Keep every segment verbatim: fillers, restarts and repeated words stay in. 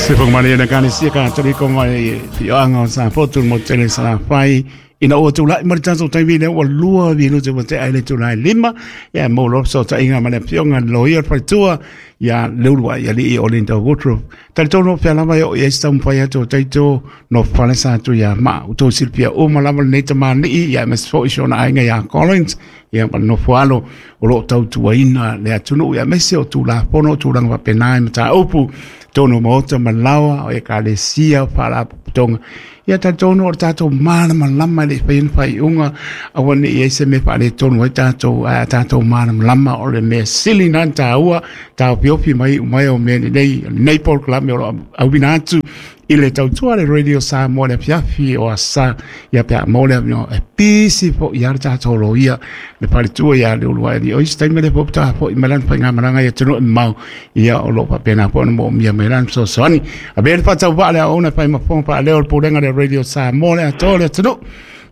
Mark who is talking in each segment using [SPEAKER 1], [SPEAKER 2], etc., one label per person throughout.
[SPEAKER 1] Se whakamari ana kāne sia ka tariko mai te oanga o Safotu mo tele Salafai. Ina ua tūlai ma le tatou taimi lea ua lua minute ua tea i le itulā e lima. Ia mo lo fesootaiga ma le afioga i le loia o le faletua ia Leulua'ialii o Linda Woodruff. Talitonu o fea lava e oo i ai se taumafai atu o taito no fale sa atu ia ma outou silafia uma lava lenei tamalii ia aemaise foi si ona aiga ia Collins ia ma le nofo alo o loo tautuaina le atunuu ia aemaise o Tulafono o tulaga faapena i mataupu tonu o maota ma laoa o ekalesia o faalapotopotoga. Ia talitonu o le tatou malamalama e le i faia ni faaiuga aua ne i ai se mea faaletonu ai tatou, ae a tatou malamalama o le mea sili na taua taofiofi mai iu mai o mea lenei lenei polokalame o lo o auina atu i le tautua le Radio Samoa le afiafi o asa ia pe a maua le avanoa e pisi fo'i a le tatou loia le faletua ia Leuluailii. O isi taimi le po fo'i mai lana faigamalaga i atunuu e mamao ia o loo faapena foi ona moomia mai lana fesoasoani. Avea le faatauvaa le aoauna e fai ma fofoga faaleo o le pulega le Radio Samoa le atoa o le atunuu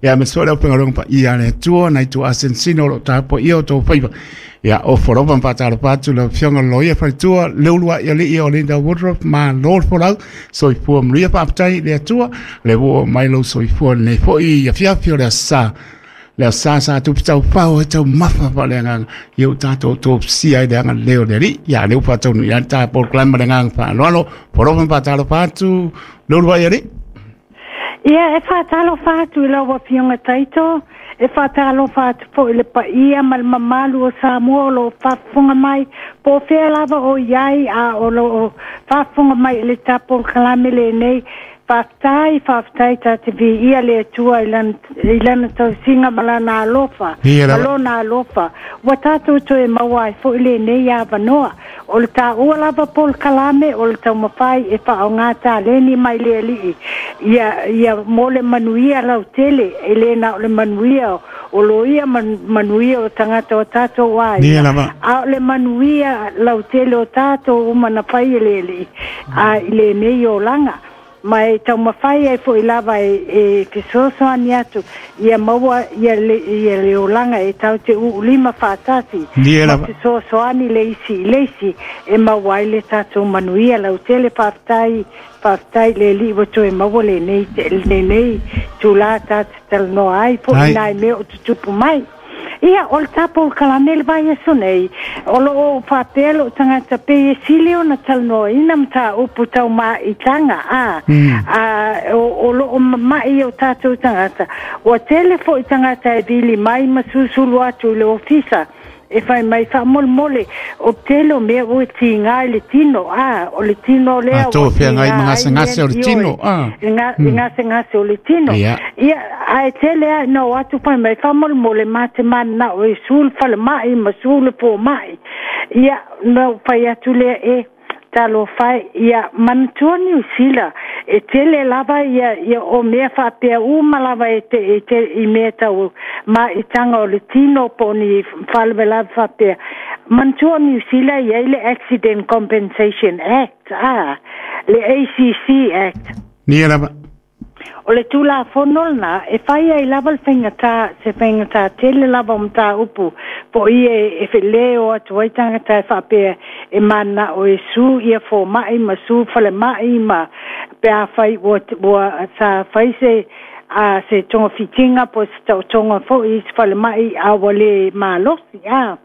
[SPEAKER 1] ia aemaise foi le aufaigaluega paia a le Atua nai tuuasenesina o loo tapuaia o tou faiva. Ia ofo lava ma faatalofa atu lau afioga le loia faletua Leulua'ialii o Linda Woodruff. Malo le folau, soifua manuia, faafetai i le Atua le ua oo mai lou soifua lenei fo'i afiafi o le asa le asa sa tupu taufao ai taumafa faaleagaga ia ua tatou tofusia ai le agalelei o le Alii. Ia lea ua faataunuu ai le ta polokalame ma le agaga faaaloalo. Alofa ma faatalofa atu Leulua'ialii.
[SPEAKER 2] Ia, e faatalofa atu i lau Afioga Taito, e faatalofa atu foi i le paia ma le mamalu o Samoa o lo o faafofoga mai, po o fea lava o i ai, a o lo o faafofoga mai i le tapolokalame lenei. Faafetai, faafetai, ta te viia le Atua i lana, i lana tausiga ma lana alofa,
[SPEAKER 1] Ia
[SPEAKER 2] ma
[SPEAKER 1] lava.
[SPEAKER 2] lona alofa. Ua tatou toe maua ai foi lenei avanoa. O le taua lava polokalame o le taumafai e faaaogā taleni mai le Alii ia, ia mo le manuia lautele, e lē na o le manuia o loia ma manuia o tagata o tatou
[SPEAKER 1] Ia
[SPEAKER 2] aiga,
[SPEAKER 1] lava.
[SPEAKER 2] a o le manuia lautele o tatou uma na fai e le Alii a i lenei olaga. Ma e taumafai ai fo'i lava e, e fesoasoani atu ia maua ia le, ia le olaga e tau te uulima faatasi
[SPEAKER 1] Ia
[SPEAKER 2] ma
[SPEAKER 1] lava.
[SPEAKER 2] fesoasoani le isi i le isi e maua ai le tatou manuia lautele. Faafetai, faafetai le Alii ua toe maua lenei, lenei tulā ta te talanoa ai fo'i
[SPEAKER 1] Ai.
[SPEAKER 2] nai mea o tutupu mai. Ia, o le tapolokalame le vaiaso nei, o loo faapea loo tagata pei e sili ona talanoaina mataupu taumaitaga a,
[SPEAKER 1] Mm.
[SPEAKER 2] a o, o loo mama'i o tatou tagata. Ua tele fo'i tagata e vili mai ma susulu atu i le ofisa e fai mai faamolemole o tele o mea ua tigā i le tino a o le tino lea
[SPEAKER 1] A to
[SPEAKER 2] ua
[SPEAKER 1] feagai
[SPEAKER 2] tigā
[SPEAKER 1] ma
[SPEAKER 2] ai
[SPEAKER 1] gasegase o le
[SPEAKER 2] ioe
[SPEAKER 1] tino a.
[SPEAKER 2] i ga- i gasegase o le tino.
[SPEAKER 1] Ia.
[SPEAKER 2] Ia, ae tele a na o atu fai mai faamolemole ma te mananao e su le falema'i ma su le foma'i. Ia, na ou fai atu lea e talofa e, ia manatua Niu Sila e tele lava ia, ia o mea faapea uma lava e te, e te, i mea tau maitaga o le tino po o ni faalavelave faapea. Manatua Niu Sila e i ai le Accident Compensation Act, a le A C C Act.
[SPEAKER 1] Ia lava.
[SPEAKER 2] O le Tulafono lena e fai ai lava le faigata, se faigata tele lava o mataupu po o ia e felē o atu ai tagata e faapea e mananao e su ia foma'i ma su falema'i ma pe afai ua, ua sa fai se a se togafitiga po o se taotoga fo'i i se falema'i a ua lē malosi a.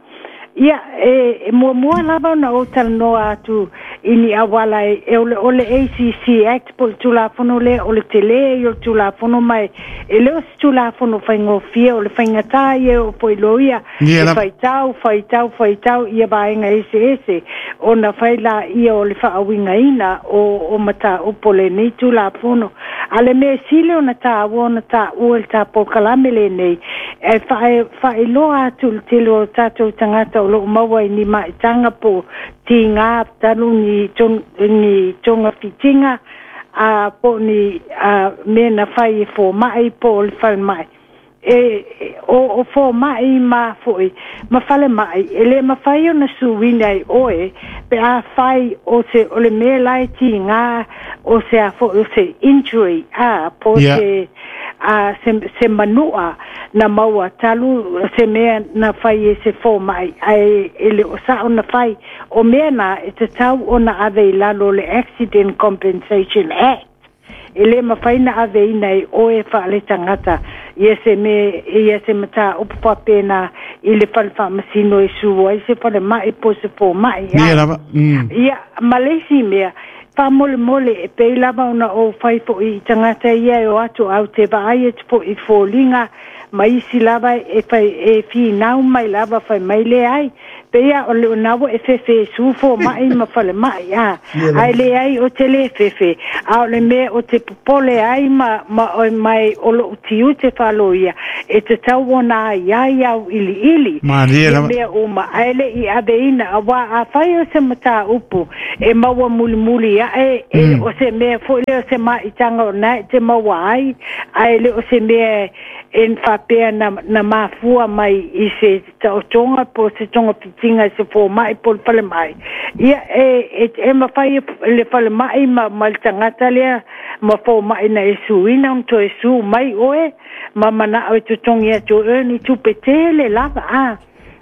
[SPEAKER 2] Ia, e, e muamua lava ona ou talanoa atu i ni auala e, e o le, o le A C C Act po o le Tulafono lea o le telē ia o le Tulafono mai e le o se Tulafono faigofie o le faigatā ia o foi loia
[SPEAKER 1] Ia
[SPEAKER 2] e
[SPEAKER 1] lava.
[SPEAKER 2] faitau faitau faitau ia vaega eseese ona fai laia o le faauigaina o, o mataupu o lenei Tulafono. A le mea sili ona taua ona taua i le tapolokalame lenei e faailoa atu i le tele o tatou tagata o loo maua i ni maitaga po tigā talu ni, ni togafitiga a po o ni a, mea na fai e foma'i po o le falema'i e, e o, o foma'i ma fo'i ma falema'i e lē mafai ona suina ai oe pe a fai o se o le mea la e tigā o se a fo'i o se injury a po
[SPEAKER 1] Ia.
[SPEAKER 2] se a se, se manua na maua talu se mea na fai e se fōmai ai e le o sa ona fai o mea na e te tau ona ave i lalo le Accident Compensation Act e le mawhai na ave ina i oe whaale tangata ia se me ia se mata upu whapena i le whale whaamasino e sua i se whale mai po se fō mai
[SPEAKER 1] ia lava mm.
[SPEAKER 2] Ia malesi mea whamole mole e pei lava ona o whai po i tangata ia e o atu au te vaai e te po i fōlinga ma isi lava e whai e fi nau mai lava whai mai le ai peia o le onawa e fefe su fo mai ma fale mai a ai le ai o te le fefe a o le mea o te popole ai ma ma o mai o lo tiu te whaloia e te tau ona ai ai au ili ili
[SPEAKER 1] Maria
[SPEAKER 2] mea o ma ai le i ave ina a wā a whai o se mata upu e maua muli muli a e, e mm. o se mea fo le o se maitanga o nai te maua ai ai le o se mea en whapea na, na mafua mai i se taotonga po se tonga pitinga se fō mai po le pale mai. Ia e, e, e mawhai le pale mai ma, ma le tangata lea ma fō mai na e suina un to e su mai oe ma mana o te tongi atu e ni tupe tele lava a.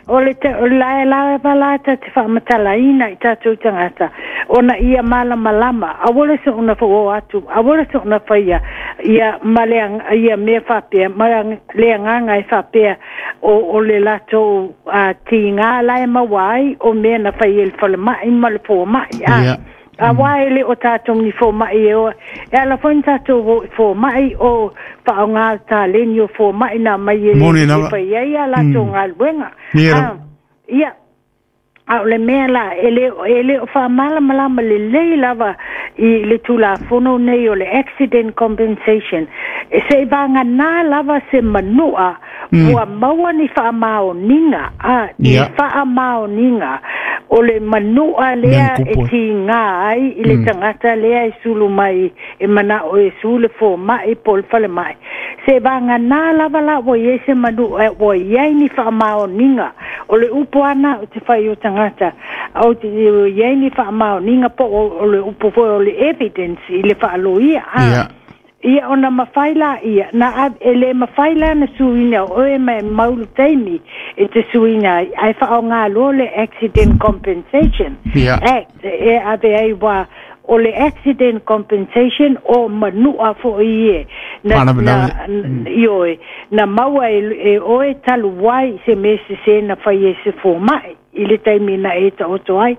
[SPEAKER 2] O le te o la la la la ta te whaamatalaina i tātou tangata. Ona ia malama lama, awole se ona wha atu, awole se ona whaia, ia malea, ia mea whapea, malea nganga e whapea o, o le lato a ti ngā lae mawai, o mea na whai e le whale mai, ma le pō mai. A,
[SPEAKER 1] yeah.
[SPEAKER 2] A wai le o tātou ni fō mai e o, e ala whain tātou fō mai o whaonga tā leni o fō mai nā mai e le whai ai a lato ngā luenga. Ia, a o le mea la, e le, e le o whaamalamalama le lei lava i le tulafono nei o le Accident Compensation. E se i vanga nā lava se manua mm. ua maua ni whaamaoninga, a, ni
[SPEAKER 1] yeah.
[SPEAKER 2] whaamaoninga o le manua lea e ti ngā ai i le mm. tangata lea e sulu mai e mana o e sulu fō mai po le whale mai. Se vanga nā lava la o i se manua o i ai ni whaamaoninga o le upo ana o te whai o tangata o te i ai ni whaamaoninga po o le upo foi o le evidence i le whaaloia.
[SPEAKER 1] Yeah.
[SPEAKER 2] Ia ona mawhai la ia, na e le mawhai la na suina o e mai maulu teimi e te suina ai whao ngā lo le Accident Compensation
[SPEAKER 1] yeah.
[SPEAKER 2] Act e ave ai wā o le Accident Compensation o manua fo i e na, na, mm. i oe, na maua e, e oe talu wai se mese se na whai e se fō mai i le taimi na e ta oto ai.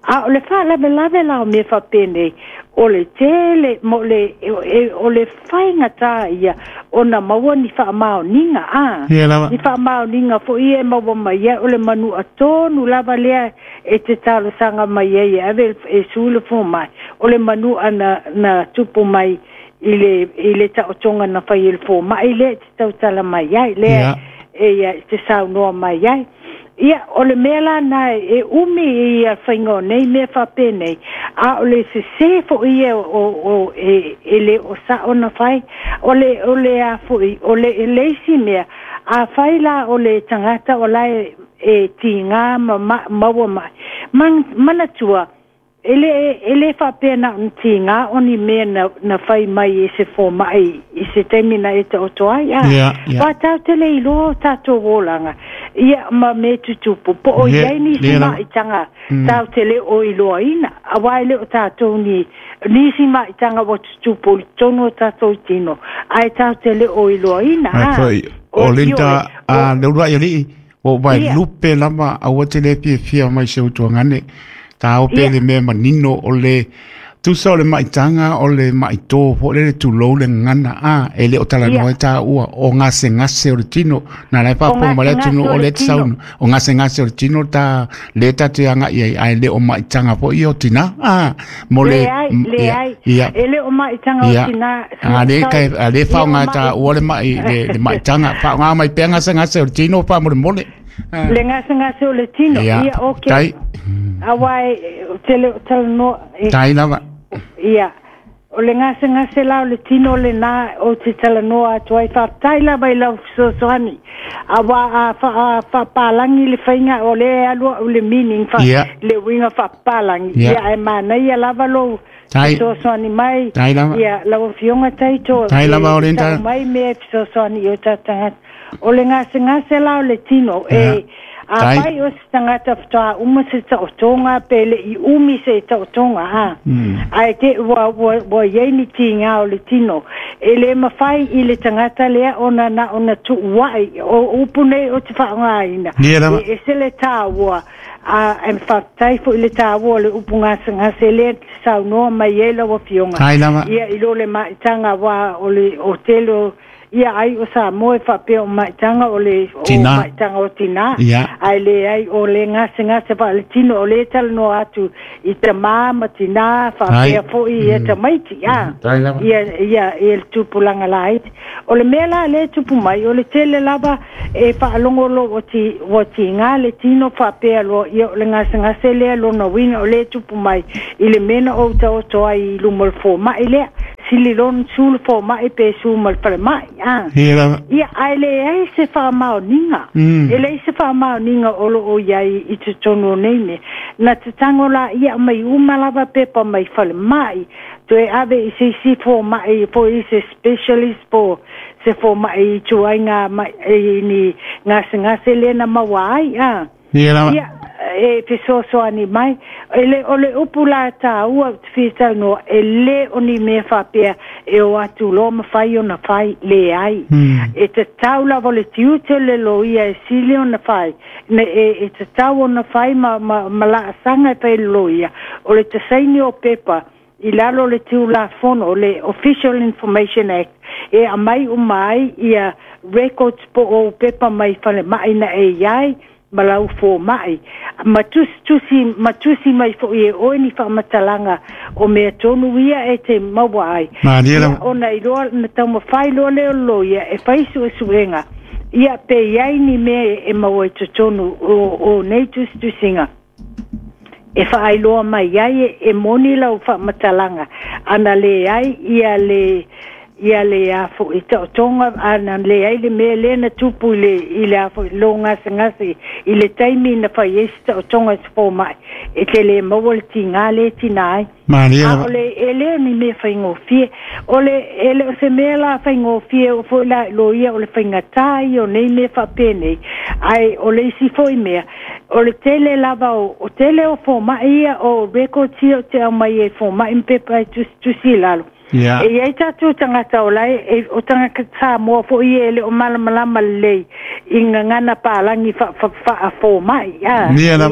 [SPEAKER 2] A o le wha lave lave la o me whapene o le tele mo le e, o le whainga tā ia o na maua ni whaamaoninga a
[SPEAKER 1] yeah,
[SPEAKER 2] ni whaamaoninga fo ia e maua mai ia o le manu a tonu lava lea e te talosanga mai ia ave e sule fo mai o le manu a na, na tupu mai i le, i le taotonga na whai e le fo mai le te tautala mai ai lea
[SPEAKER 1] yeah.
[SPEAKER 2] e ia te saunoa mai ai. Ia, o le mea la nai, e umi i a whainga nei mea whapene, a o le se se fo ia o, o, e, e le o sa ona whai, o le, o le a fo i, o le e leisi mea, a whai la o le tangata o la e, e ti ngā ma, ma, maua mai. Man, manatua, e le, e le whapea na ti ngā oni mea na, na whai mai e se fō mai i se taimi na e te oto ai. A,
[SPEAKER 1] yeah, yeah.
[SPEAKER 2] Wā tāu te le iloa o tātou olanga. Ia ma me tutupu. Po o
[SPEAKER 1] yeah,
[SPEAKER 2] iai ni si
[SPEAKER 1] yeah,
[SPEAKER 2] maitanga
[SPEAKER 1] mm.
[SPEAKER 2] tāu te le o iloa ina. A wai le o tātou ni, ni si maitanga wa tutupu i tono o tātou tino. Ai tāu te le o iloa ina.
[SPEAKER 1] Ai foi, o linda a leura i alii, o vai
[SPEAKER 2] yeah.
[SPEAKER 1] lupe lama a ua te le fia fia mai se utuangane. Tā o pele mea manino o le tusa o le maitanga o le maitō po le le tulou le ngana a e le o talanoa
[SPEAKER 2] yeah.
[SPEAKER 1] tā ua o ngase ngase o le tino na lai papo ma le tino o le saunu o ngase ngase o le tino tā le tā te anga ia ai le o maitanga po i o tina a mo le
[SPEAKER 2] le ai le ai e le o maitanga o tina
[SPEAKER 1] a le kai a le whaonga tā ua le mai le, le maitanga whaonga mai pea ngase ngase o le tino pa mo le mole
[SPEAKER 2] le ngase ngase o le tino
[SPEAKER 1] ia
[SPEAKER 2] ia okay
[SPEAKER 1] tai
[SPEAKER 2] a wai te le talanoa
[SPEAKER 1] tai lava
[SPEAKER 2] ia o le ngase ngase la o le tino le nā o te talanoa atu ai whaatai lava i lau fesoasoani a wā a whaapalangi le whainga o le alua o le meaning wha,
[SPEAKER 1] yeah.
[SPEAKER 2] le winga whaapalangi
[SPEAKER 1] yeah.
[SPEAKER 2] Ia e mana ia lava lou Fesoasoani mai ia lau afioga Taito e tau mai mea e fesoasoani i o tatou tagata. O le gasegase la o le tino e afai o se tagata faatoa uma se taotoga pe le'i umi se taotoga a ae te ua ua ua iai ni tiga o le tino e lē mafai i le tagata lea ona na ona tu'ua'i o upu nei o te fa'aaogāina e ese le tāua a e faafetai fo'i le tāua o le upu gasegase lea te saunoa mai ai lau afioga ia i lo le ma'itaga uā o le o tele o ia ai o Samoa e faapea o ma'itaga o le o ma'itaga o tinā ae leai o le gasegase faaletino o lē talanoa atu i tamā ma tinā faapea fo'i ia tamaiti a ia ia ia le tupulaga laiti. O le mea la lē tupu mai o le tele lava e faalogo lo ua ti ua tigā le tino faapea loa ia o le gasegase lea lona uiga o lē tupu mai i le mea na ou taoto ai i luma o le foma'i lea sili lona su le foma'i pe su ma le falema'i a ia ae leai se faamaoniga e leai se faamaoniga o loo iai i totonu o nei mea na tatago laia mai uma lava pepa mai falema'i toe ave i se isi foma'i po i se specialist po se foma'i i tuaiga mai ni gasegase lea na maua ai a ia e fesoasoani mai e le o le upu la tāua ou te fia talanoa e lē o ni mea faapea e o atu loa ma fai ona fai leai e tatau lava o le tiute o le loia e sili ona fai e, e tatau ona fai ma, ma, ma laasaga e fai le loia o le tasaini o pepa i lalo o le Tulafono o le Official Information Act e aumai uma ai ia records po o pepa mai falema'i na e iai ma lau foma'i ma tusitusi ma tusi mai fo'i e oe ni faamatalaga o mea tonu ia e te maua ai ia ona iloa na taumafai loa lea o le loia e fai su'esu'ega ia pe iai ni mea e maua i totonu o, o nei tusitusiga e faailoa mai ai e moni lau faamatalaga ana leai ia le ia le a fo'i taotoga ana leai le mea lea na tupu i le i le a fo'i lo gasegase i le taimi na fai ai se taotoga i se foma'i e te lē maua le tigā lē tinā ai a o le e lē o ni mea faigofie o le e le o se mea la faigofie o fo'i la loia o le faigatā ia o nei mea faapenei ae o le isi fo'i mea o le tele lava o, o tele o foma'i ia o records ia o te aumai e foma'i ma pepa e tusitusi i lalo
[SPEAKER 1] Yeah.
[SPEAKER 2] E iai tatou tagata o lae e, o tagata Samoa fo'i e le o malamalama lelei i gagana palagi fa'afomai a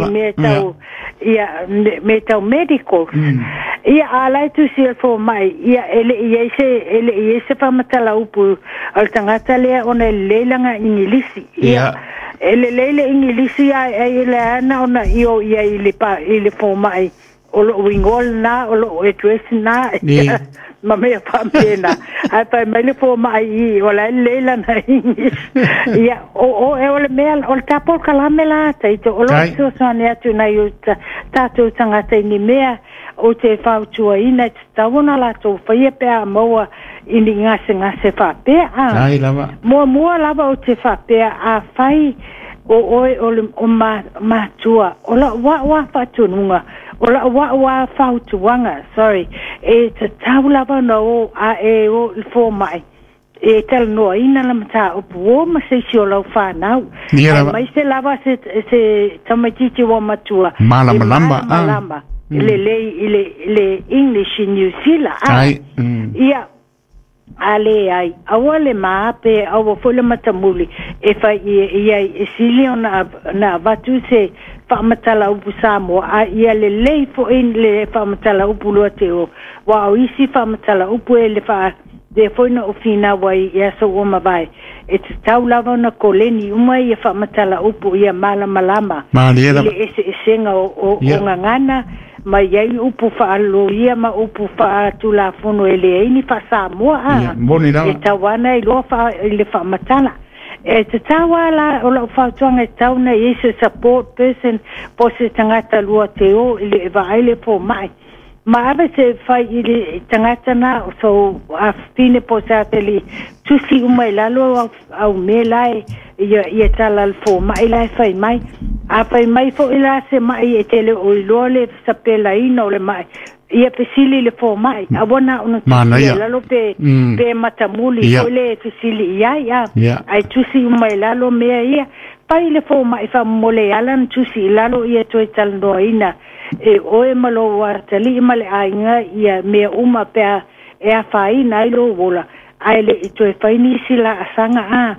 [SPEAKER 2] i mea tau ia mea tau medicals ia a lae tusi e le foma'i ia e le'i ai se e le'i ai se faamatala upu o le tagata lea ona e lelei laga igilisi ia e lelei le igilisi ae ai le ana ona io ia i le pa i le foma'i o lo'u igoa lenā o lo'u address lenā ma mea faapena ae fai mai le foma'i i o la e lelei lana English ia o o e o le mea o le tapolokalame la Taito o loo fesoasoani atu nai o tatou tagata i ni mea o te fautuaina e tatau ona latou faia pe a maua i ni gasegase faapea a muamua lava o te faapea afai o oe o le o ma, matua o la'u a'u a faatunuga o la'u a'u a fautuaga sorry e tatau lava ona o a e o i le foma'i e talanoaina la mataupu o ma se isi o lau fanau aemaise lava se se tamaititi ua matua e malamalama lelei i le le English i New Zealand a ia a leai aua le maape aua fo'i le matamuli e fai ia e sili ona na avatu se faamatala upu Samoa a ia lelei fo'i le faamatala upu lua te o ua o isi faamatala upu e le faa lea foi na ou finau ai i aso ua mavae e tatau lava ona koleni uma ia faamatala upu ia malamalama i le eseesega o, o, o gagana ma iai upu faaloia ma upu faatulafono e leai ni faasamoa a e tau ana iloa faa, i le faamatala e tatau a la o la'u fautuaga e tatau na iai se support person po se tagata lua te o i le e vaai le foma'i ma ave se fai i le tagata na o sou afafine po se ateli tusi uma i lalo au, au mea la e ia, ia tala le foma'i la e fai mai a fai mai fo'i la se ma'i e tele o iloa le sapelaina o le ma'i Ia fesili le fomai awana ona
[SPEAKER 1] tusi
[SPEAKER 2] lalo pe mm. pe matamuli yeah. Ko le fesili ia ia
[SPEAKER 1] yeah.
[SPEAKER 2] Ai tusi mai lalo mea ia pai le fomai fa mole ala tusi lalo ia toe talanoaina e oe malo wa tali ma le aiga ia mea uma pe e afaina ai lo wola ai le i toe fai nisi la asaga a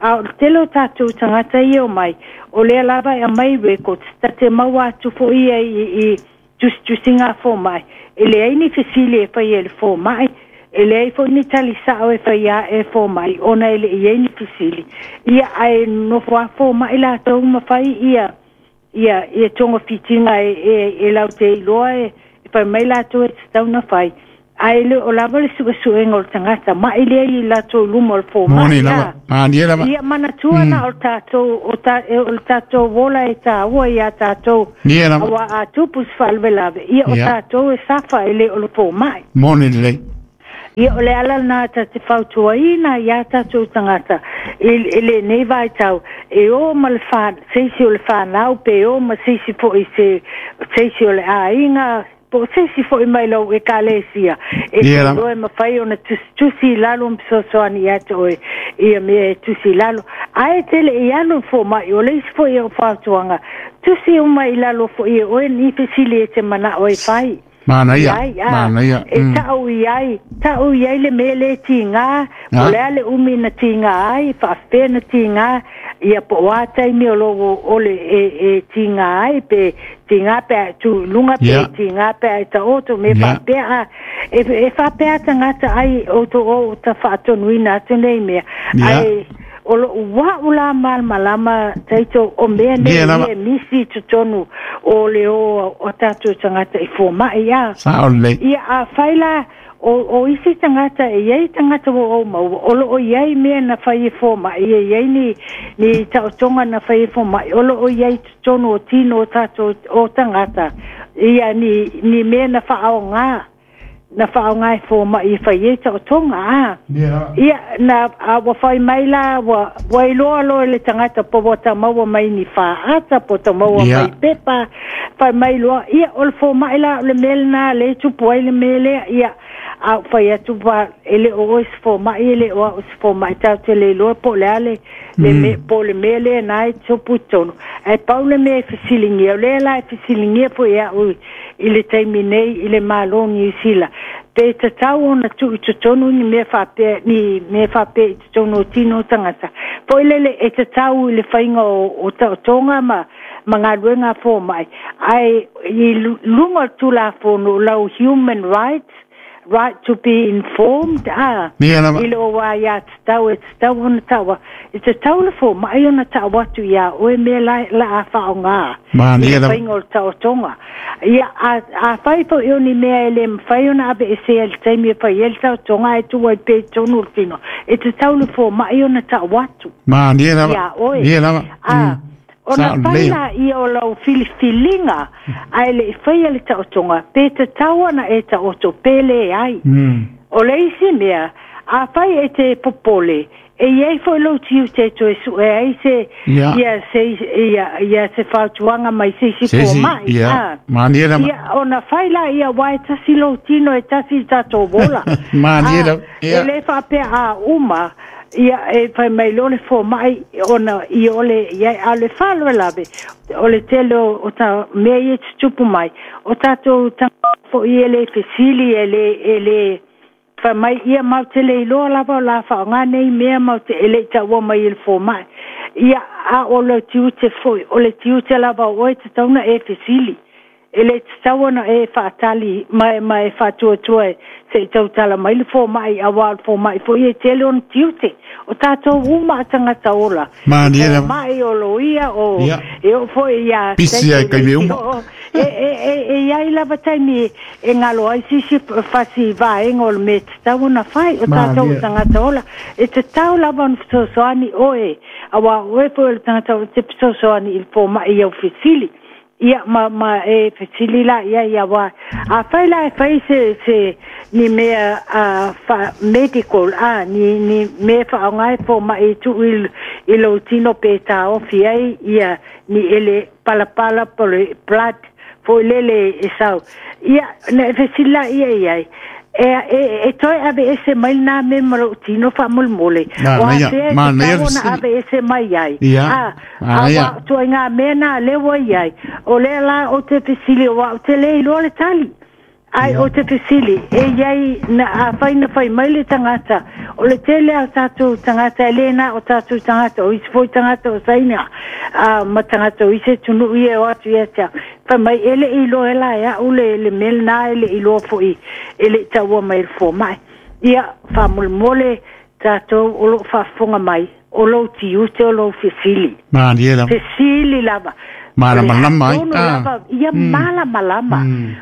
[SPEAKER 2] a o tele o tatou tagata ia o mai o lea lava e aumai records tate maua atu fo'i ia i, i tusitusiga fomai e leai ni fesili e faia e le fomai e leai fo'i ni talisa'o e faia e fomai ona e le'i ai ni fesili ia ae nofo a fomai latou ma fai ia ia ia togafitiga e e, e laute iloa e fai mai latou e tatau na fai ae le o lava le suesuega o le tagata ma'i lea i latou luma o le fomai ia manatua na o le tatou o ta o le tatou ola e tāua iā tatou auā a tupu se faalavelave ia o tatou e safa e lē o le fomai
[SPEAKER 1] moni lelei
[SPEAKER 2] ia o le ala lena ta te fautuaina iā tatou tagata i lenei vaitau e ō ma le fa seisi o le fanau pe ō ma seisi fo'i se seisi o le aiga po seisi fo'i mai lou ekalesia e iloa e mafai ona tusitusi i lalo ma fesoasoani ia te oe ia mea e tusi i lalo ae tele i alu foma'i o le isi fo'i o fautuaga tusi uma i lalo fo'i e oe ni fesili e te mana'o e fai
[SPEAKER 1] Manaia, manaia.
[SPEAKER 2] E ta'u i ai, ta'u i ai le mea le tigā, po le a le umi na tigā ai, faafefea na tigā, ia po o a taimi o lou o le e, e tigā ai, pe tigā pe a tu luga, pe
[SPEAKER 1] Yeah.
[SPEAKER 2] tigā pe a e ta'oto, me
[SPEAKER 1] Yeah.
[SPEAKER 2] faapea a, e, e faapea tagata ai o to o ta fa'atonuina atu nei mea.
[SPEAKER 1] Yeah.
[SPEAKER 2] Ai, o lo'u wa'u la malamalama taito o mea nei
[SPEAKER 1] Ia lava.
[SPEAKER 2] e misi i totonu o le o o tatou tagata i foma'i a
[SPEAKER 1] Sa'o lelei.
[SPEAKER 2] ia a fai la o, o isi tagata e iai tagata ua ou maua o lo'o iai mea na fai e foma'i e iai ni, ni ta'otoga na fai e foma'i o lo'o iai totonu o tino o tatou o tagata ia ni, ni mea na fa'aogā na fa'aogā e foma'i e fai ai ta'otoga a ia na a ua fai mai la ua ua iloa loa le tagata po ua tamaua mai ni fa'ata po tamaua
[SPEAKER 1] Ia.
[SPEAKER 2] mai pepa fai mai loa ia o le foma'i la o le mea lenā le tupu ai le mea lea ia a fai atu pa e le o oe se foma'i e le o a'u se foma'i tatou te le iloa po o le a le le me po o le mea lea na e tupu i totonu ae pau le mea e fesiligia o lea la e fesiligia fo'i a'u i le taimi nei i le Mālō Niusila pe tatau ona tu'u i totonu ni mea faapea ni mea faapea i totonu o tino o tagata fo'i lele e tatau i le faiga o, o ta'otoga ma ma galuega foma'i ae i luga o le tulafono lau human rights right to be informed a
[SPEAKER 1] Ia lava.
[SPEAKER 2] i le o wā ia tatau e tatau ona taua e tatau le foma'i ona ta'u atu iā oe mea la, la a fa'aogā
[SPEAKER 1] Manaia
[SPEAKER 2] i le
[SPEAKER 1] lava.
[SPEAKER 2] faiga o le ta'otoga ia a, a fai fo'i o ni mea e lē mafai ona aveesea i le taimi e fai ai le ta'otoga ae tuu ai pea i totonu o le tino e tatau le foma'i ona ta'u atu
[SPEAKER 1] Manaia lava.
[SPEAKER 2] iā oe
[SPEAKER 1] Ia lava.
[SPEAKER 2] a ona
[SPEAKER 1] Sa'o
[SPEAKER 2] fai
[SPEAKER 1] lelei.
[SPEAKER 2] la ia o lau filifiliga ae le'i faia le ta'otoga pe tatau ana e ta'oto pe lē ai
[SPEAKER 1] Mm.
[SPEAKER 2] o le isi mea a fai e te popole e iai fo'i lou tiute e toe su'e ai se
[SPEAKER 1] Ia.
[SPEAKER 2] ia se ia ia se fautuaga mai se isi
[SPEAKER 1] Seisi,
[SPEAKER 2] foma'i
[SPEAKER 1] ia.
[SPEAKER 2] a
[SPEAKER 1] Manaia lava.
[SPEAKER 2] ia ona fai la ia uā e tasi lou tino e tasi i tatou ola
[SPEAKER 1] Manaia
[SPEAKER 2] a
[SPEAKER 1] lava.
[SPEAKER 2] e
[SPEAKER 1] Ia.
[SPEAKER 2] lē faapea a uma ia e fai mai loa le foma'i ona i ole ia a le faalavelave o le tele o, o ta mea ia tutupu mai o tatou tagata fo'i e lē fesili e lē e lē fai mai ia mau te le iloa lava o la fa'aogā nei mea mau te e le'i ta'ua mai e le foma'i ia a o le tiute fo'i o le tiute lava o oe tatauna e fesili e le tatau ona e fa'atali ma ma e fa'atuatua e se'i tautala mai le foma'i auā o le foma'i fo'i e tele ona tiute o tatou uma a tagata ola
[SPEAKER 1] Manaia lava.
[SPEAKER 2] foma'i o loia o
[SPEAKER 1] Ia.
[SPEAKER 2] e oo fo'i ia
[SPEAKER 1] Pisi ai kaime uma.
[SPEAKER 2] e e e e iai lava taimi e galo ai sisi fasi vaega o le mea tatau ona fai o tatou
[SPEAKER 1] Manaia.
[SPEAKER 2] tagata ola e tatau lava ona fesoasoani oe auā oe foi o le tagata o te fesoasoani i le foma'i i au fesili ia ma ma e fesili la ia ia wa a fai la e fai se se ni mea a fa medical a ni ni mea fa'aogā e foma'i e tu'u i, i lou tino pe taofi ai ia ni ele palapala po le blood Foi lele e sau. Ia, na fesila ia ia. E e e toe ave ese mai na me maro tino fa molemole.
[SPEAKER 1] O a te
[SPEAKER 2] ma na ave ese mai ai.
[SPEAKER 1] A
[SPEAKER 2] a toi nga me na le wo ai. O le la o te fesili o o te le lo le tali. Ai o te fesili e iai na a fai na fai mai le tangata. O le tele a tatu tangata le na o tatu tangata o isi foi tangata o saina. A ma tangata o isi tunu ie o atu ia tia. Fai mai ele i lo ela ia ule le mel na ele i lo foi ele taua mai le fo mai. Ia fa molemole tatou o lo faafofoga mai o lou tiute o lou fesili.
[SPEAKER 1] Malie lava.
[SPEAKER 2] Fesili lava.
[SPEAKER 1] Malamalama ai.
[SPEAKER 2] Ah. Ia malamalama.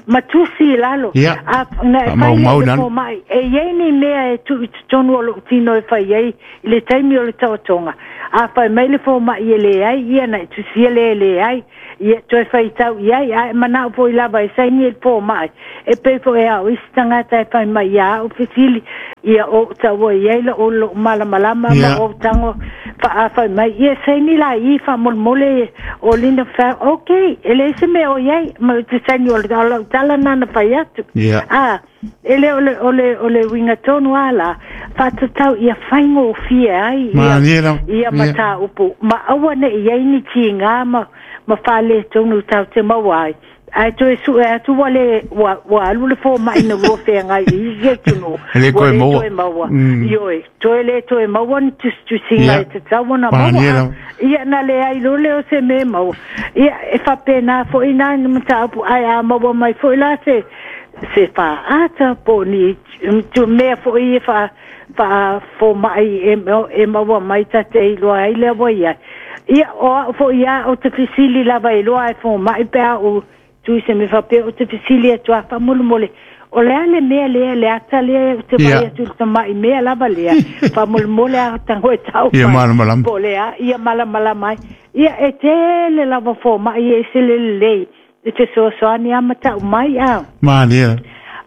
[SPEAKER 2] Matusi lalo.
[SPEAKER 1] A
[SPEAKER 2] na fai le mai. E iai ni mea e tu i totonu o lou tino e fai ai i le taimi o le taotoga. A fai mai le fomai e leai, ia na e tusia le e leai. Ia toe faitau iai, ae manao foi lava e saini e le fomai. E pei foi e au isi tagata e fai mai ia au fesili. Ia o taua iai la o lou malamalama ma o tago faafai mai. Ia saini la i faamolemole o lina fa okay, e le se mea o iai ma te saini o le lau tala nana fai atu.
[SPEAKER 1] Yeah.
[SPEAKER 2] A e le o le o le o le uiga tonu ala faatatau ia faigofie ai
[SPEAKER 1] ia
[SPEAKER 2] ia mataupu ma aua nei iai ni tiga ma ma faaletonu tau te maua ai. Ai toe sue atu ua le ua ua alu le fomai na lua feagai i isi atunuu
[SPEAKER 1] le
[SPEAKER 2] ua
[SPEAKER 1] toe
[SPEAKER 2] le
[SPEAKER 1] maua.
[SPEAKER 2] toe maua. Ioe toe le toe maua ni tusitusiga e tatau ona maua. Ia na leai lo le o se mea maua. Ia e faapena foʻi na ni mataupu ae a maua mai foʻi la se se faaata po o ni tu mea foʻi e faa faafomaʻi e e maua mai tate iloa ai lea ua iai. Ia o a'u foʻi a o te fesili lava iloa e fomaʻi pe a ou tui se me faapea o te fesili atu a faamolemole. O le a le mea lea le ata lea o te vai atu le tamaʻi mea lava lea. Faamolemole a tago e tau
[SPEAKER 1] Ia malamalama.
[SPEAKER 2] Po o le a ia malamalama ai. Ia e tele lava fomaʻi e se lelelei. E te soasoani a matau mai a.
[SPEAKER 1] Malie.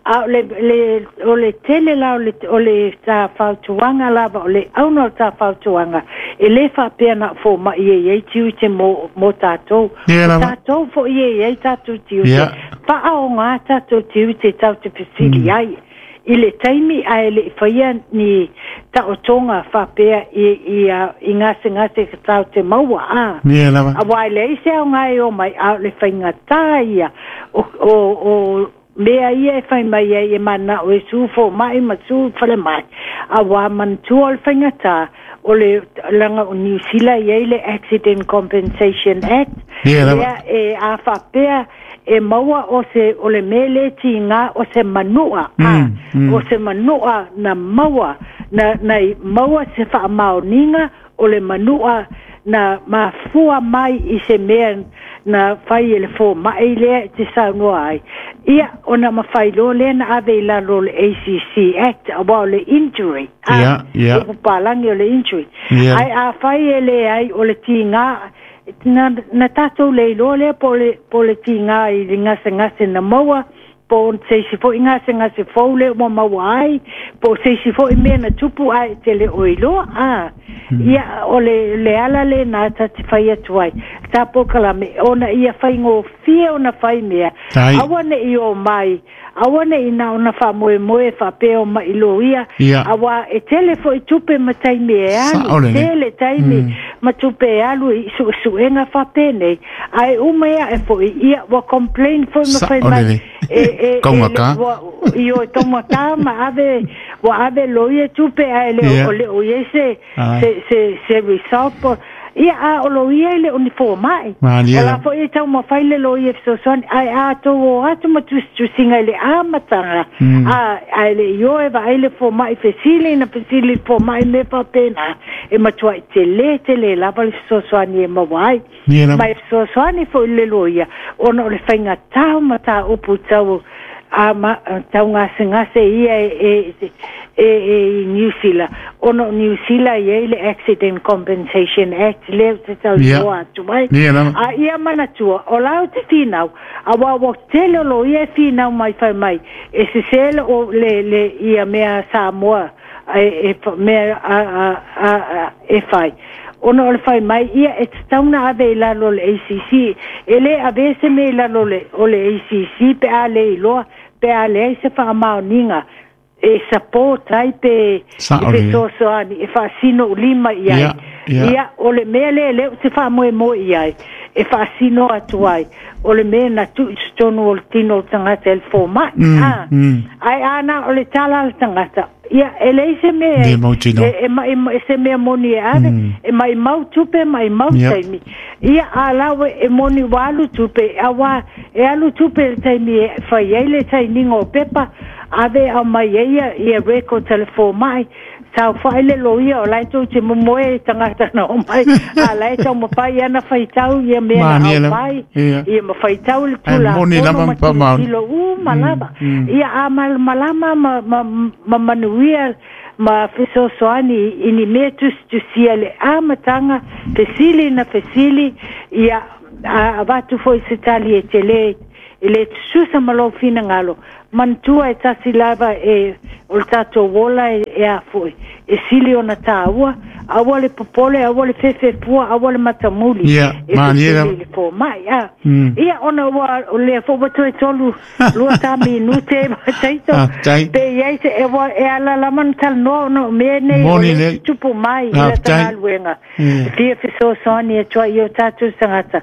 [SPEAKER 2] A o le le o le tele la o le o le ta fautuaga lava o le auga o ta fautuaga e lē faapea na fomaʻi e iai tiute mo mo tatou.
[SPEAKER 1] Ia
[SPEAKER 2] O tatou foʻi e iai tatou tiute. Faaogā tatou tiute tau te fesili ai. I le taimi ae leʻi faia ni taotoga faapea i i i gasegase ka tau te maua a.
[SPEAKER 1] Ia lava.
[SPEAKER 2] Auā e leai se aoga e o mai a o le faigatā ia o o o mea ia e fai mai ai e manao e su fomaʻi ma su falemai. Auā manatua o le faigatā o le laga o Niu Sila iai le Accident Compensation Act.
[SPEAKER 1] Ia lava.
[SPEAKER 2] Lea e a faapea e maua o se o le mea le tiga o se manua a o se manua na maua na na maua se faamaoniga o le manua na mafua mai i se mea na fai e le fomaʻi lea e te saunoa ai. Ia ona mafai loa lea na ave i lalo o le A C C Act auā o le injury a
[SPEAKER 1] Ia, ia.
[SPEAKER 2] o papalagi o le injury.
[SPEAKER 1] Ia.
[SPEAKER 2] Ae afai e leai o le tiga na na tatou le iloa lea po o le po o le tiga i le gasegase na maua po o se isi foʻi gasegase fou lea ua maua ai po o se isi foʻi mea na tupu ae te le o iloa a. Ia o le le ala lenā ta te fai atu ai tā pokalame ona ia faigofie ona fai mea.
[SPEAKER 1] Tai.
[SPEAKER 2] Aua neʻi o mai aua neʻi na ona faamoemoe faapea o maʻi loia.
[SPEAKER 1] Ia.
[SPEAKER 2] Auā e tele foʻi tupe ma taimi e alu
[SPEAKER 1] Saʻo lenei.
[SPEAKER 2] tele taimi ma tupe e alu i suʻesuʻega faapenei ae uma ia e foʻi ia ua complain foi ma fai
[SPEAKER 1] Saʻo
[SPEAKER 2] mai
[SPEAKER 1] lenei.
[SPEAKER 2] e e e
[SPEAKER 1] Kaugakā.
[SPEAKER 2] ua io taugakā ma ave ua ave loia tupe ae le
[SPEAKER 1] Ia.
[SPEAKER 2] o le o iai se
[SPEAKER 1] Ai.
[SPEAKER 2] se se se result po ia a o loia e le o ni fomaʻi.
[SPEAKER 1] Malie
[SPEAKER 2] O la
[SPEAKER 1] lava.
[SPEAKER 2] foʻi e taumafai le loia e fesoasoani ae a tou o atu ma tusitusiga i le amataga a ae leʻi o e vaai le fomaʻi fesili na fesili fomaʻi me faapena e matuaʻi telē tele lava le fesoasoani e maua ai.
[SPEAKER 1] Ia lava.
[SPEAKER 2] Ma e fesoasoani foʻi le loia ona o le faigatā o mataupu tau a ma tau gasegase ia e e e e i Niu Sila ona o Niu Sila iai le Accident Compensation Act lea ou te
[SPEAKER 1] Ia.
[SPEAKER 2] tautua atu ai.
[SPEAKER 1] Ia lava.
[SPEAKER 2] A ia manatua o la ou te finau auā ua tele o loia e finau mai fai mai e sesē le o le le ia mea Samoa e e mea a a a e fai. Ona o le fai mai ia e tatau na ave i lalo o le A C C. E le ave se mea i lalo o le A C C pe a le iloa pe a leai se faamaoniga e support ai pe e fesoasoani e faasino ulima i ai. Ia o le mea lea lea ou te faamoemoe i ai e faasino atu ai o le mea na tuu i totonu o le tino o le tagata e le fomai. Ae ana o le tala a le tagata ia e leai se mea e e se mea moni e ave e maimau tupe maimau taimi ia a lau e moni ua alu tupe auā e alu tupe i le taimi e fai ai le sainiga o pepa ave aumai ai ia ia record a le fomai saofai le loia o lae tou te momoe i tagata na omai a lae taumafai ana faitau ia mea na aumai ia ma faitau le tulafono ma tilotilo uma lava ia a malamalama ma ma ma manuia ma fesoasoani i ni mea tusitusia le amataga fesili na fesili ia a avatu foi se tali e tele e le tususa ma lou finagalo manatua e tasi lava e o le tatou ola e, e a foi e sili ona tāua aua le popole aua le fefefua aua le matamuli
[SPEAKER 1] yeah,
[SPEAKER 2] e fesili le fomai a ia ona ua o lea foi ua toe tolu lua ta minute taito pe iai se e ua e alalama na talanoa ona o mea nei o le tupu mai i lata galuega fia fesoasoani atu ai i o tatou tagata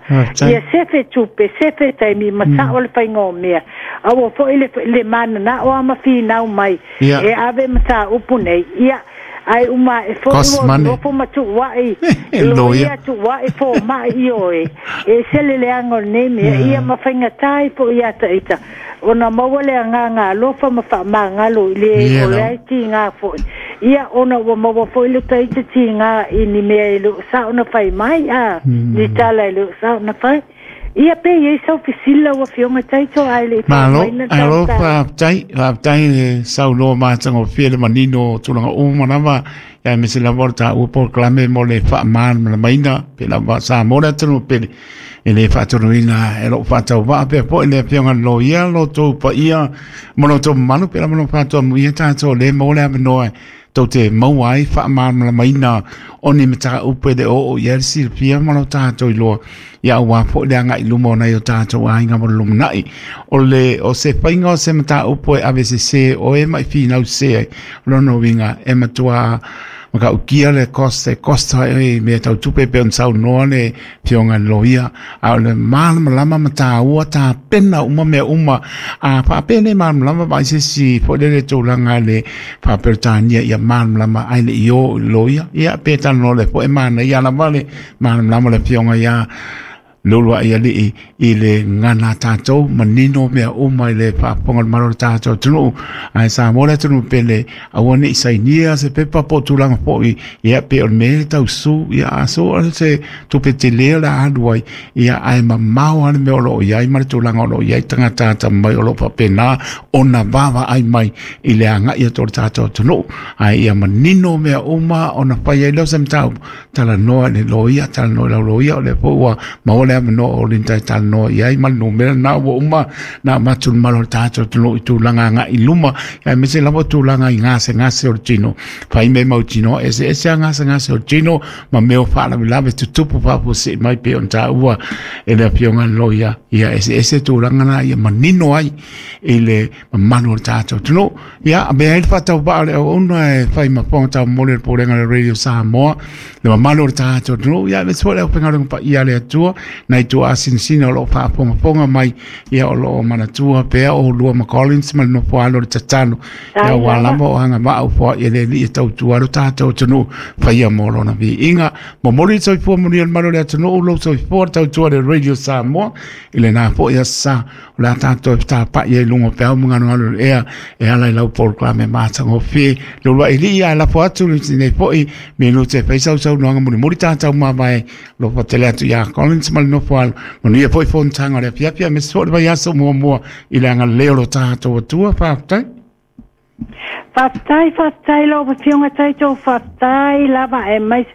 [SPEAKER 2] ia sefe tupe sefe taimi ma sao le faiga o mea aua foi le le mananao a ma finau mai e ave ma tāupu nei ia ai uma e foi ua nofo ma tuua'i loia tuua'i foma'i i oe e sele leaga o lenei mea ia ma faigatā ai fo'i ia ta'ita ona maua le agaga alofa ma faamagalo i le o le ai tigā fo'i ia ona ua maua fo'i le ta'ita tigā i ni mea e le o sa'o na fai mai a ni tala e le o sa'o na fai ia pe iai sau fesili lau afioga taito ae le i
[SPEAKER 1] Malo, alo faafetai, faafetai le saunoa matagofie le manino o tulaga uma lava ia aemaise lava o le taua polokalame mo le faamalamalamaina pe lava Samoa le atunuu pele e le faatonuina e lou faatauvaa pea fo'i le afioga le loia lo tou paia ma lo tou mamalu pe lava lo faatoamuia tatou le maua le avanoa tou te maua ai faamalamalamaina o ni mataupu e le oo i ai le silafia ma lo tatou iloa ia auā fo'i le aga'i luma o nai o tatou aiga mo le lumanai o le o se faiga o se mataupu e ave sesē oe ma i finau sesē ai o lona uiga e matuā makaukia le cost e costa e mea tautupe pe ona saunoa le afioga i le loia a o le malamalama ma tāua tapena uma mea uma a faapea le malamalama vaai se isi fo'i lele tulaga le faaperetania ia malamalama ai le i o i le loia ia pe talanoa le fo'i manaia lava le malamalama le afioga ia Leulua'i alii i le gana tatou manino mea uma i le faafofoga o le malo o le tatou atunuu ae Samoa le atunuu pele aua ne'i sainia se pepa po o tulaga fo'i ia pe o le mea e tausū ia a so o se tupe telē o le a alu ai ia ae mamao lava le mea o loo i ai ma le tulaga o loo i ai tagata atamamai o loo faapena ona vaavaai mai i le aga'i atu o le tatou atunuu ae ia manino mea uma ona fai ai lea o se mataupu talanoa i le loia talanoa i lau loia o lea foi ua maua le avanoa o Linda e talanoa i ai ma le numera na ua uma na avatu i le malo o le tatou atunuu i tulaga aga'i luma aemaise lava o tulaga i gasegase o le tino fai mea mautinoa eseese a gasegase o le tino ma mea o faalavelave tutupu faafuasei mai pei ona taua e le afioga i le loia ia eseese tulaga na ia manino ai i le mamalu o le tatou atunuu ia avea ai le faatauvaa o le auauna e fai ma fofoga taumoli o le Pulega o le Radio Samoa le mamalu o le tatou atunuu ia aemaise foi le aufaigaluega paia a le Atua nai tuaasinasina o loo faafogafoga mai ia o loo manatua pea o lua ma Collins ma le nofo alo o le tatalo ia ua lava o agavaa ufoa'i e le Alii e tautua ai lo tatou atunuu faia mo lona viiga momoli le soifua manuia le malu o le atunuu lou soifua le tautua le Radio Samoa i lenā fo'i aso sa o le a tatou e fetapa'i ai luga o peau ma galugalu o le ea e ala i lau polokalame matagofie Leulua'i alii ae lafo atu lenei fo'i minute e fai sausaunoaga mulimuli tatou mavae alofa tele atu iā Collins ma le nofo alo manuia foi fonotaga o le afiafi aemaise foi o le vaiaso muamua i le agalelei o lo tatou Atua faafetai.
[SPEAKER 2] Faafetai, faafetai lau afioga Taito, faafetai lava e mai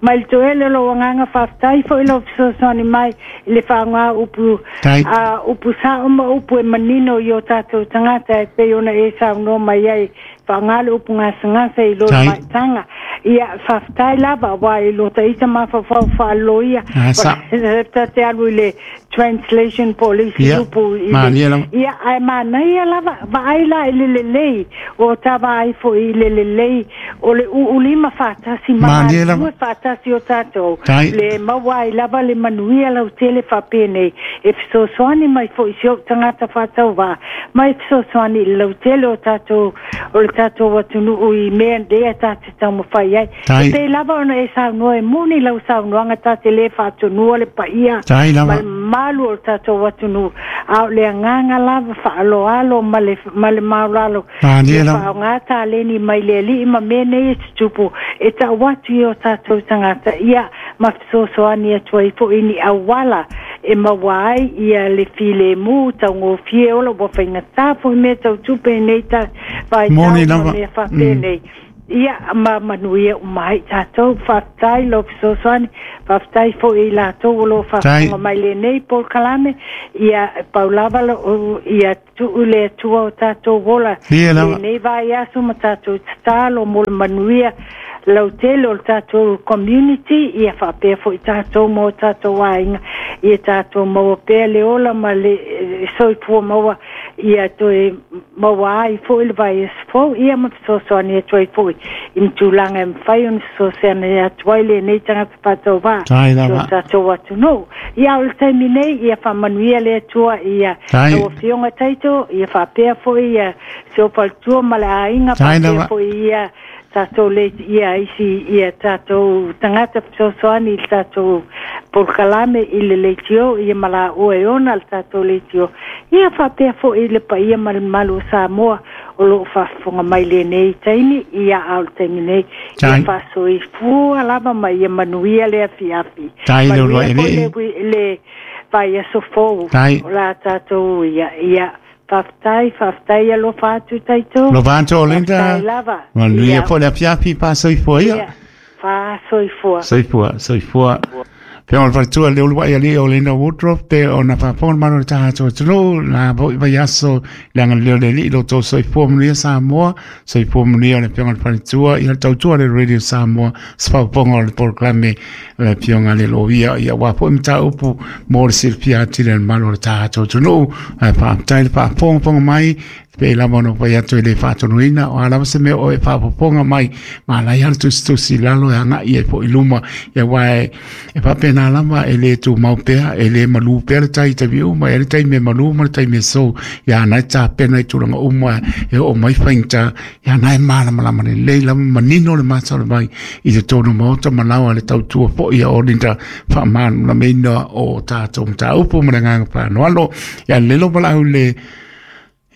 [SPEAKER 2] mai le toele o lou agaga, faafetai foi lou fesoasoani mai i le faaaoga upu
[SPEAKER 1] Tai.
[SPEAKER 2] a upu sao ma upu e manino i o tatou tagata e pei ona e saunoa mai ai faaaoga le upu gasegase i lo
[SPEAKER 1] Tai.
[SPEAKER 2] maitaga. Ia faafetai lava aua i lo taita mafaufau faaloia ta te alu i le translation po o le isi upu i le ia ae manaia lava vaai la i le lelei o ta vaai foʻi i le lelei o le uulima faatasi ma galulue faatasi o tatou le maua ai lava le manuia lautele faapenei e fesoasoani mai foʻi si ou tagata faatauvaa ma e fesoasoani i le lautele o tatou o le tatou atunuu i mea lea ta te taumafai ai e pei lava ona e saunoa e moni lau saunoaga ta te lē faatonua le paia ma le mamalu o le tatou atunuu a o le agaga lava faaloalo ma le ma le maulalo ia faaaogā taleni mai le alii ma mea nei e tutupu e tau atu i o tatou tagata ia ma fesoasoani atu ai foʻi ni auala e maua ai ia le filemu taugofie ola ua faigatā foʻi mea tautupe nei ta vaitau ma mea faapenei ia ma manuia uma ai tatou faafetai lou fesoasoani faafetai foʻi i latou o loo faafofoga mai lenei polokalame ia pau lava ia tuu le Atua o tatou ola lenei vaiaso ma tatou tatalo mo le manuia lautele o le tatou community ia faapea foʻi tatou ma o tatou aiga ia tatou maua pea le ola ma le soifua maua ia toe maua ai foʻi le vaiaso fou ia ma fesoasoani atu ai foʻi i ni tulaga e mafai ona fesoasoani atu ai lenei tagata faatauvaa o tatou atunuu ia o le taimi nei ia faamanuia le Atua ia lau afioga Taito ia faapea foʻi ia si ou faletua ma le aiga faapea foʻi ia tatou le ia isi ia tatou tagata fesoasoani i le tatou polokalame i le leitio ia ma laua e ona le tatou leitio ia faapea foʻi le paia ma le mamalu o Samoa o loo faafofoga mai lenei taimi ia a o le taimi nei ia faasoifua lava ma ia manuia le afiafi manuia foʻi le le vaiaso fou o la tatou ia ia faafetai faafetai alofa atu Taito
[SPEAKER 1] alofa atu Olinda manuia foʻi le afiafi faasoifua ia
[SPEAKER 2] faasoifua
[SPEAKER 1] soifua soifua Pe o le faletua le uluai alii o Linda Woodruff pe ona faafofoga malo le tatou atunuu la foʻi vaiaso le agalelei o le Alii lo outou soifua manuia Samoa soifua manuia le afioga i le faletua ia le tautua le Radio Samoa se faafofoga o le polokalame le afioga le loia ia aua foʻi mataupu mo le silafia atili e le mamalu o le tatou atunuu ae faafetai le faafogafoga mai pe lava ona fai atu i le faatonuina o a lava se mea o e faafofoga mai ma lai a le tusitusi lalo e agaʻi ai foʻi luma ia uā e e faapena lava e lē tumau pea e lē malū pea le tai i taimi uma e le taimi e malū ma le taimi e sou ia na e tapena i tulaga uma e oo mai faigata ia na e malamalama lelei lava manino le mata o le vai i totonu maota ma laoa le tautua foʻi ia Olinda faamalamalamaina o tatou mataupu ma le agaga faanoalo ia lelo valaau le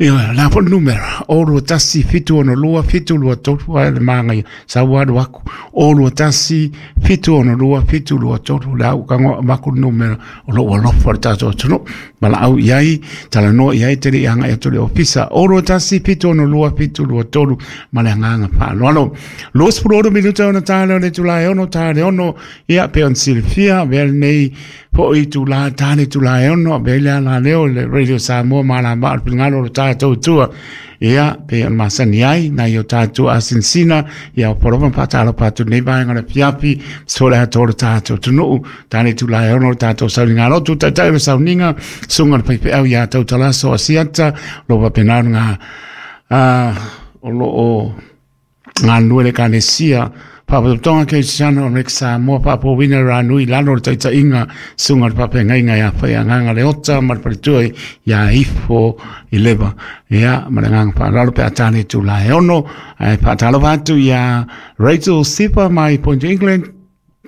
[SPEAKER 1] Ia, la foʻi le numera, o lua tasi, fitu ono lua, fitu lua tolu, ae le magaia, sau alu aku, o lua tasi, fitu ono lua, fitu lua tolu, le au kagoa maku le numera, o loo alofa le tatou atunuu, valaau i ai, talanoa i ai, te le i agaʻi atu le ofisa, o lua tasi, fitu ono lua, fitu lua tolu, ma le agaga faaaloalo. Luasefulu ono minuta ona ta lea o le itula e ono, ta le ono, ia, pe ona silafia, avea lenei foʻi itulā, ta le itula e ono, avea i le ala lea o le Radio Samoa malama o le finagalo o le tatou tua ia pe ona masani ai nai o tatou asinasina ia o polofa ma faatalofa atu lenei vaega o le afiafi so le atoa o le tatou atunuu ta le itula e ono o le tatou sauniga lotu taitai o le sauniga susuga le faifeau iā Tautalaso Asiata o loo faapena ona o loo galulue le Ekalesia Faalapotopotoga Kerisiano o Amerika Samoa faapouina le ranui lalo o le taitaiga susuga o le faafeagaiga ia Faiagaga Leota ma le faletua ia Ifo i Leva ia ma le agaga faaaloalo pe a ta le itula e ono ae faatalofa atu ia Rachel Sifa mai Point England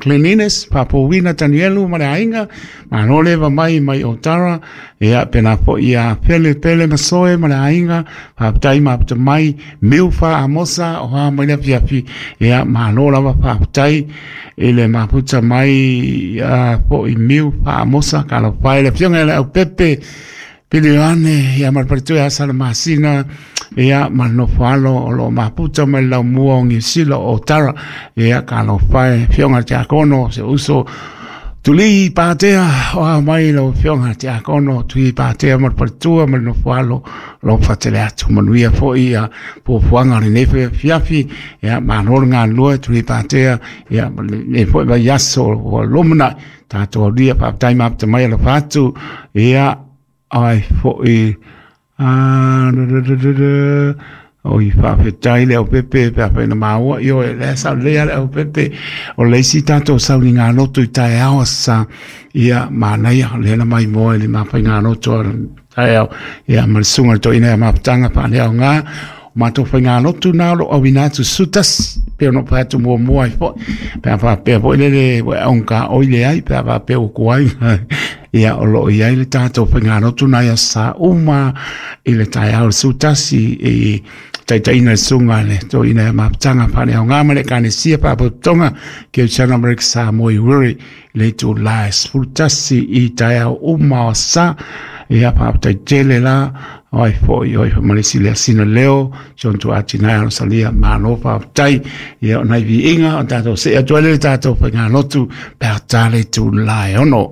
[SPEAKER 1] Cleanliness, faapouina Tanielu ma le aiga, malo le leva mai mai Otara, ia pena foʻi ia Pele Pele Masoe ma le aiga, faafetai mafuta mai, Miu Fa Amosa o a mai le afiafi, ia malo lava faafetai i le mafuta mai ia foʻi Miu Fa Amosa, talofa e le afioga ia le Aupepe, Pilione, ia ma le faletua ia Salamasina, ia ma le nofo alo o loo mafuta mai le laumua o Niu Sila o Otara, ia talofa e afioga i le Tiakono, se uso Tuli Patea o a mai lau afioga Tiakono Tuli Patea ma le faletua ma le nofoalo lo fatele atu manuia fo'i ia puapuaga o lenei foi afiafi. Ia malo le galulue Tuli Patea ia ma lenei foi vaiaso ua lumana'i tatou aulia faafetai mafuta mai alofa atu ia ai fo'i a oi faafetai le aupepe pe afai na maua ioe lea sa lelei a le aupepe o le isi tatou sauligaloto i taeao sa ia manaia lea na maimoa i le mafaigaloto a taeao ia ma le susuga i le toeaina ia mafutaga faaleaoga o matou faigalotu na o loo auina atu sutasi pe ona fai atu muamua ai fo'i pe a faapea foi lele ua e augata leai pe a faapea ua tuai ia o loo iai le tatou faigalotu nai aso sa uma i le taeao le sutasi i taitaiina le susuga le toeaina ia mafutaga faaleaoga ma le Ekalesia Faalapotopotoga Kerisiano Amerika Samoa i Uiri le itulā e sefulu tasi i taeao uma o sa ia faafetai tele la o ai fo'i oi famalesi le asina leo John Tuatinae alosalia malo faafetai ia o nai viiga o tatou see atu ai le tatou faigalotu pe a ta le itulā e ono.